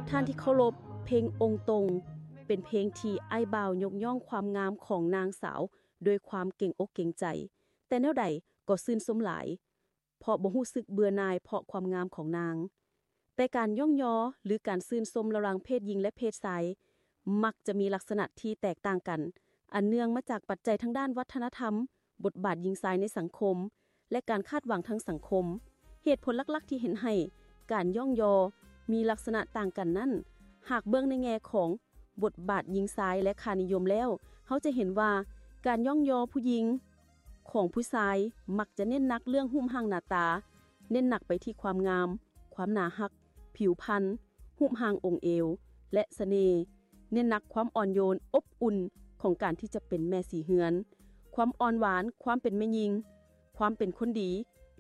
ທ່ານທີ່ເຄົາລົບ, ເພງອົງຕົງ ເປັນເພງທີ່ອ້າຍບ່າວຍົກຍ້ອງຄວາມງາມຂອງນາງສາວດ້ວຍຄວາມເກງອົກເກງໃຈ, ແຕ່ແນວໃດກໍຊື່ນຊົມຫຼາຍ, ເພາະບໍ່ຮູ້ສຶກເບື່ອໜ່າຍເພາະຄວາມງາມຂອງນາງ. ແຕ່ການຍ້ອງຍໍ ຫຼື ການຊື່ນຊົມລະຫວ່າງເພດຍິງ ແລະ ເພດຊາຍ ມັກຈະມີລັກສະນະທີ່ແຕກຕ່າງກັນ, ອັນເນື່ອງມາຈາກປັດໄຈທາງດ້ານວັດທະນະທຳ, ບົດບາດຍິງຊາຍໃນສັງຄົມ ແລະ ການຄາດຫວັງທາງສັງຄົມ. ເຫດຜົນຫຼັກໆທີ່ເຮັດໃຫ້ການຍ້ອງຍໍມີລັກສະນະຕ່າງກັນນັ້ນ, ຫາກເບິ່ງໃນແງ່ຂອງບົດບາດຍິງຊາຍ ແລະ ຄ່ານິຍົມແລ້ວ, ເຮົາຈະເຫັນວ່າການຍ້ອງຍໍຜູ້ຍິງຂອງຜູ້ຊາຍມັກຈະເນັ້ນໜັກເລື່ອງຮູບຮ່າງໜ້າຕາ, ເນັ້ນໜັກໄປທີ່ຄວາມງາມ, ຄວາມໜາຮັກ, ຜິວພັນ, ຮູບຮ່າງອົງເອວ ແລະ ສະເໜ່, ເນັ້ນໜັກຄວາມອ່ອນໂຍນ, ອົບອຸ່ນຂອງການທີ່ຈະເປັນແມ່ສີເຮືອນ, ຄວາມອ່ອນຫວານ, ຄວາມເປັນແມ່ຍິງ, ຄວາມເປັນຄົນດີ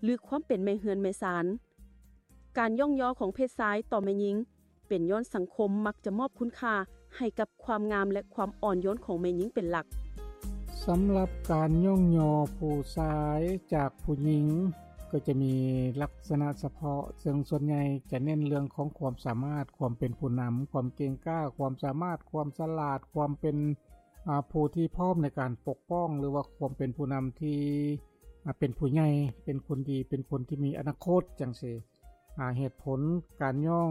ຫຼື ຄວາມເປັນແມ່ເຮືອນແມ່ຊານ. ການຍ້ອງຍໍຂອງເພດຊາຍຕໍ່ແມ່ຍິງ ເປັນຍ້ອນສັງຄົມມັກຈະມອບຄຸນຄ່າໃຫ້ກັບຄວາມງາມ ແລະ ຄວາມອ່ອນໂຍນຂອງແມ່ຍິງເປັນຫຼັກ. ສຳລັບການຍ້ອງຍໍຜູ້ຊາຍຈາກຜູ້ຍິງ ກໍຈະມີລັກສະນະສະເພາະ, ເຊິ່ງສ່ວນໃຫຍ່ຈະເນັ້ນເລື່ອງຂອງຄວາມສາມາດ, ຄວາມເປັນຜູ້ນຳ, ຄວາມເກັ່ງກ້າ, ຄວາມສາມາດ, ຄວາມສະຫຼາດ, ຄວາມເປັນ ອາ ຜູ້ທີ່ພ້ອມໃນການປົກປ້ອງ ຫຼືວ່າຄວາມເປັນຜູ້ນຳທີ່ ອາ ເປັນຜູ້ໃຫຍ່, ເປັນຄົນດີ, ເປັນຄົນທີ່ມີອະນາຄົດ ຈັ່ງຊີ້. ອາ ເຫດຜົນການຍ້ອງ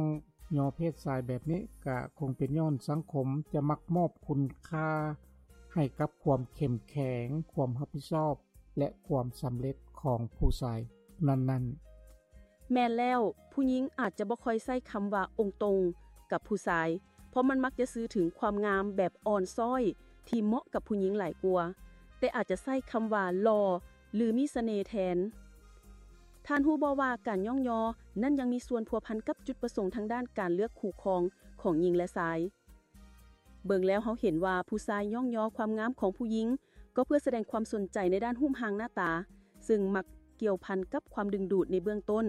ຍໍເພດຊາຍແບບນີ້ ກະຄົງເປັນຍ້ອນສັງຄົມຈະມັກມອບຄຸນຄ່າໃຫ້ກັບຄວາມເຂັ້ມແຂງ, ຄວາມຮັບຜິດຊອບ ແລະ ຄວາມສຳເລັດຂອງຜູ້ຊາຍນັ້ນໆ. ແມ່ນແລ້ວ, ຜູ້ຍິງອາດຈະບໍ່ຄ່ອຍໃຊ້ຄຳວ່າອົງຕົງກັບຜູ້ຊາຍ, ເພາະມັນມັກຈະສື່ເຖິງຄວາມງາມແບບອ່ອນຊ້ອຍທີ່ເໝາະກັບຜູ້ຍິງຫຼາຍກວ່າ, ແຕ່ອາດຈະໃຊ້ຄຳວ່າຫຼໍ່ ຫຼື ມີສະເໜ່ແທນ. ທ່ານຮູ້ບໍ່ວ່າການຍ້ອງຍໍນັ້ນຍັງມີສ່ວນພົວພັນກັບຈຸດປະສົງທາງດ້ານການເລືອກຄູ່ຄອງຂອງຍິງ ແລະ ຊາຍ? ເບິ່ງແລ້ວເຮົາເຫັນວ່າຜູ້ຊາຍຍ້ອງຍໍຄວາມງາມຂອງຜູ້ຍິງ ກໍເພື່ອສະແດງຄວາມສົນໃຈໃນດ້ານຮູບຮ່າງໜ້າຕາ, ເຊິ່ງມັກກ່ຽວພັນກັບຄວາມດຶງດູດໃນເບື້ອງຕົ້ນ.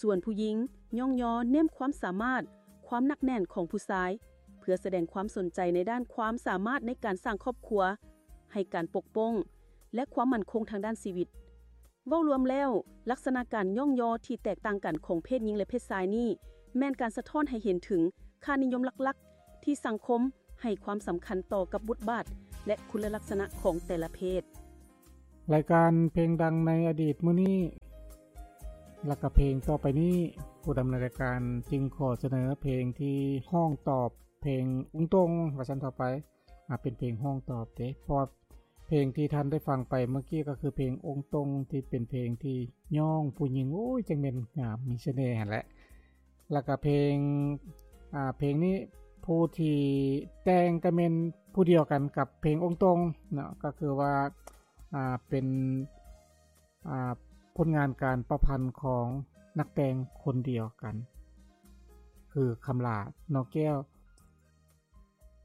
ສ່ວນຜູ້ຍິງຍ້ອງຍໍເນັ້ນຄວາມສາມາດ, ຄວາມໜັກແໜ້ນຂອງຜູ້ຊາຍ, ເພື່ອສະແດງຄວາມສົນໃຈໃນດ້ານຄວາມສາມາດໃນການສ້າງຄອບຄົວ, ໃຫ້ການປົກປ້ອງ ແລະ ຄວາມໝັ້ນຄົງທາງດ້ານຊີວິດ. ເວົ້າລວມແລ້ວ, ລັກສະນະການຍ້ອງຍໍທີ່ແຕກຕ່າງກັນຂອງເພດຍິງ ແລະ ເພດຊາຍນີ້ ແມ່ນການສະທ້ອນໃຫ້ເຫັນເຖິງຄ່ານິຍົມຫຼັກໆທີ່ສັງຄົມໃຫ້ຄວາມສຳຄັນຕໍ່ກັບບົດບາດ ແລະ ຄຸນລະລັກສະນະຂອງແຕ່ລະເພດ. ລາຍການເພງດັງໃນອະດີດມື້ນີ້ ແລະ ກະເພງຕໍ່ໄປນີ້, ຜູ້ດຳເນີນລາຍການຈຶ່ງຂໍສະເໜີເພງທີ່ຮ້ອງຕອບເພງອຸງຕົງ ວ່າຊັ້ນເຖາະໄປ. ອາ ເປັນເພງຮ້ອງຕອບເດ້ ເພາະວ່າເພງທີ່ທ່ານໄດ້ຟັງໄປເມື່ອກີ້ກໍຄືເພງອົງຕົງ ທີ່ເປັນເພງທີ່ຍ້ອງຜູ້ຍິງ ໂອ້ຍ ຈັ່ງແມ່ນງາມ ມີສະເໜ່ຫັ້ນແຫຼະ. ແລ້ວກໍເພງ ອາ ເພງນີ້ຜູ້ທີ່ແຕ່ງກໍແມ່ນຜູ້ດຽວກັນກັບເພງອົງຕົງເນາະ ກໍຄືວ່າ ອາ ເປັນ ອາ ຜົນງານການປະພັນຂອງນັກແຕ່ງຄົນດຽວກັນ ຄື ຄຳຫຼາ ນອກແກ້ວ.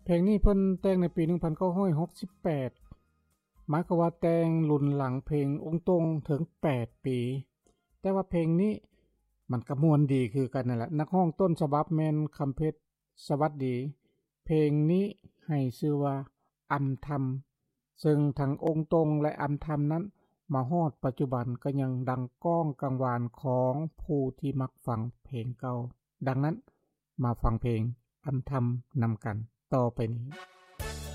ເພງນີ້ເພິ່ນແຕ່ງໃນປີໜຶ່ງພັນເກົ້າຮ້ອຍຫົກສິບແປດ ໝາຍຄວາມວ່າແຕ່ງລຸນຫຼັງເພງອົງຕົງເຖິງແປດປີ. ແຕ່ວ່າເພງນີ້ມັນກໍມ່ວນດີຄືກັນນັ້ນແຫຼະ. ນັກຮ້ອງຕົ້ນສະບັບແມ່ນຄຳເພັດ ສະຫວັດດີ. ເພງນີ້ໃຫ້ຊື່ວ່າອຳທຳ ເຊິ່ງທັງອົງຕົງ ແລະ ອຳທຳນັ້ນ ມາຮອດປັດຈຸບັນກໍຍັງດັງກ້ອງກັງວານຂອງຜູ້ທີ່ມັກຟັງເພງເກົ່າ. ດັ່ງນັ້ນ ມາຟັງເພງອຳທຳນຳກັນຕໍ່ໄປນີ້.